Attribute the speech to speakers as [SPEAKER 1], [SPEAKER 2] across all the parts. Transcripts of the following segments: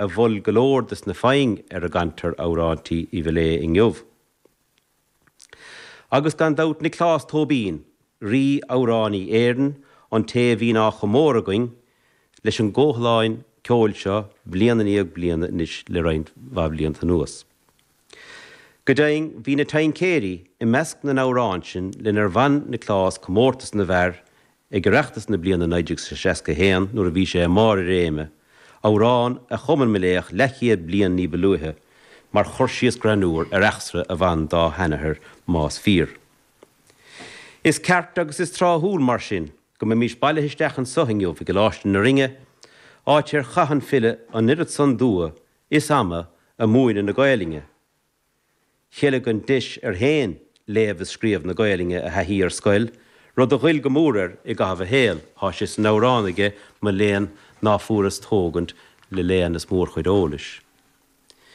[SPEAKER 1] a mhol go leor des na foinn ar a gcantar amhráintí Uí Mhiléadh inniu. Agus gan dabht Nioclás Tóibín, Rí Amhránaí Éireann, an té a bhíonn á chomóradh againn leis an gcomhthalláin ceoil seo bliain i ndiaidh bliana anois le roinnt mhaith blianta anuas. Go deimhin, bhí Na Taincéirí i measc na n-amhrán sin lenar bhain Nioclás comórtas na bhfear Ag Oireachtas na bliana 1961, nuair a bhí sé i mbarr a réime, amhrán a chum an Miléach leathchéad bliain ní ba luaithe, mar chur síos greannúr ar eachtra a bhain dá sheanathair, más fíor. Is ceart agus is tráthúil, mar sin, go mbeimis bailithe isteach anso inniu i gColáiste na Rinne, áit ar chaith an file an oiread san dua is ama a' múineadh na Gaelainne, Cheilg an deis air féin léamh is scríobh na Gaelainne a thaithí ar scoil, rud a ghoill go mór air i gcaitheamh a shaoil. Thá sé san amhrán aige, Mo léan ná fuaireas tógaint le léann is mórchuid eolais.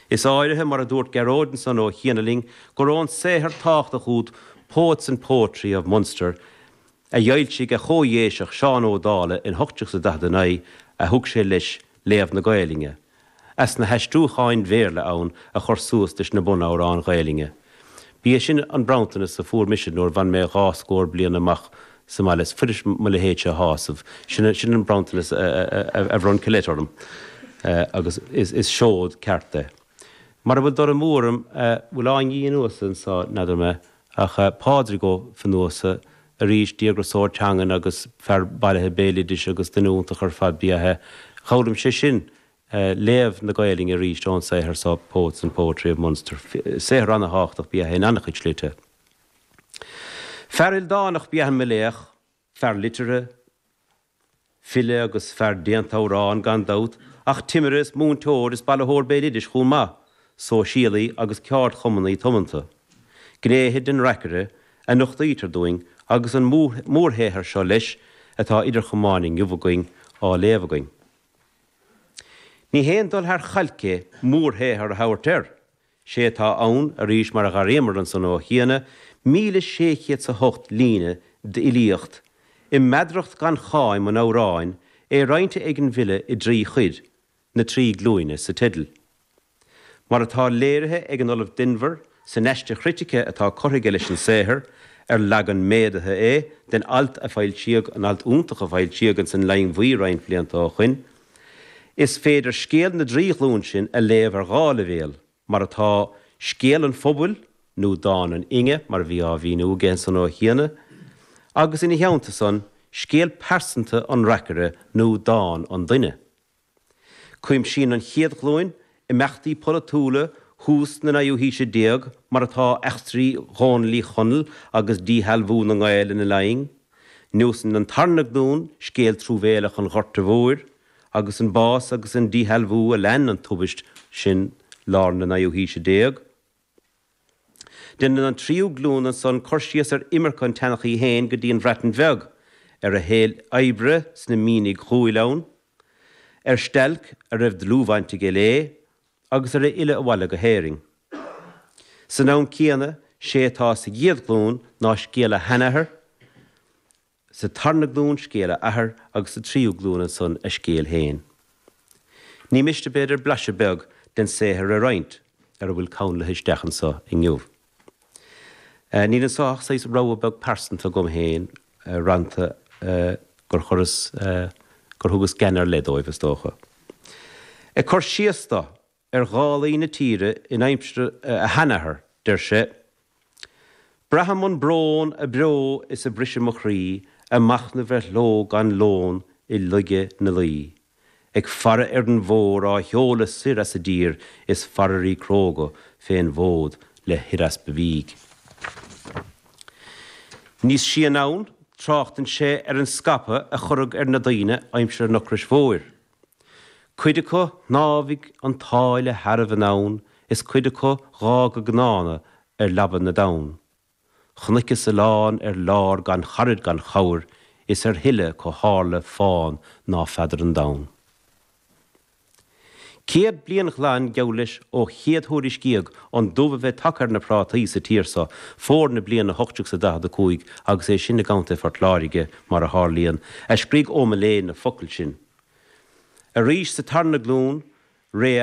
[SPEAKER 1] Is áirithe, mar a dúirt Gearóid ansan ó chiana linn, gur ón saothar tábhachtach úd Poets and Poetry of Munster a d'fhoilsigh a chomh-Dhéiseach Seán Ó Dálaigh in 1849 a thug sé leis léamh na Gaelainne, as na haistriúcháin Bhéarla ann a chur suas leis na bunamhráin Ghaelainne. Ba é sin an bronntanas a fuair mise nuair bhain mé dhá scór bliain amach sa mbaile. Is fuirist mo leithéidse a shásamh. Sin an bronntanas a bhronn Colette orm agus is seod ceart é. Mara bhfuil dul amú orm, bhfuil Áine Uí Fhionnúsa anso, n'fheadar mé, ach Pádraig Ó Fionnúsa, arís, díograiseoir teangan agus fear bailithe béaloidis agus duine iontach ar fad ba ea é. D'fhoghlaim sé sin léamh na Gaelainne arís ón saothar so, Poets and Poetry of Munster. Saothar ana-thábhachtach ba ea é in an-chuid slite. Fear ildánach ba ea an Miléach. Fear liteartha, file agus fear déanta amhrán gan dabht, ach timire is múinteoir is bailitheoir béaloidis chomh maith, sóisialaí agus ceardchumannaí tiomanta. Gnéithe den reacaire a nochtaítear dúinn agus an mórshaothar seo leis atá idir chamáin inniu againn á léamh againn. Ní haon dul thar chailc é mórshaothar a thabhairt air, Sé atá ann, arís mar a dh'airíomar ansan ó chiana, 1,608 líne d'fhilíocht, i meadracht gan cháim an amhráin, é roinnte ag an bhfile i dtrí chuid, Na Trí Glúine sa teideal. Mar atá léirithe ag an Ollamh Denvir san aiste chritice atá curtha aige leis an saothar, ar leagan méadaithe é den alt a foilsíodh, an alt iontach a foilsíodh ins an Line Bhuí roinnt blianta ó shoin, Is féidir scéal na dtrí ghlúin sin a léamh ar dhá leibhéal, mar atá, scéal an phobail, nó dán an fhine, mar a bhí á mhíniú aige ansan ó chiana, agus ina theannta san, scéal pearsanta an reacaire, nó dán an duine. Cuimsíonn an chéad ghlúin imeachtaí polaitiúla thús na naoú haoise déag, mar atá, eachtraí Dhónaill Uí Chonaill agus díshealbhú na nGael ina Laighin, Neosann an tarna glúin scéal truamhéalach an Ghorta Mhóir, agus an bás agus an díshealbhú a lean an tubaist sin lár na naoú haoise déag. Déanann an tríú glúin ansan cur síos ar imirce an tseanchaí féin go dtí an Bhreatain Bheag, ar a shaol oibre sna mianaigh ghuail ann, ar stailc a raibh dlúthbhaint aige léi, agus ar a fhilleadh abhaile go hÉirinn. San am céanna, sé atá sa gcéad ghlúin ná scéal a sheanathar, sa tarna glúin scéal a athar agus sa tríú glúin ansan a scéal féin. Ní miste b'fhéidir blaiseadh beag den saothar a roinnt ar a bhfuil conlaithe isteach anso inniu. Níl anso ach saghas rogha beag pearsanta agam féin, rannta gur chuireas, gur thugas gean ar leith dóibh, is dócha. Ag cur síos do ar dhálaí na tíre in aimsir a sheanathar, deir sé, Braithim an brón a breo is a briseadh mo chroí a' machnamh ar shló gan lón i laige na luí, ag faire ar an bhfómhar á sheoladh soir as an dtír is faireoirí cróga fén bhfód le huireaspa bídh. Níos sia anonn, tráchtann sé ar an scaipeadh a cuireadh ar na daoine aimsir an ocrais mhóir. Cuid acu shnámhaigh an tsáile shearbh anonn is cuid acu dh'fhág a gcnánna ar leaba na dtonn. Chonaiceas a lán ar lár gan charaid gan chabhair is ar thuile 'cu tharla fán ná feadar an domhan. 100 bliain ghlan geall leis ó chéad-thuairiscíodh an dubh a bheith tagtha ar na prátaí sa tír so, fómhar na bliana 1845 agus é sin i gContae Phort Láirge, mar a tharlaíonn, a scrígh Ó Miléadha na focail sin. Arís sa tarna glúin. Rea.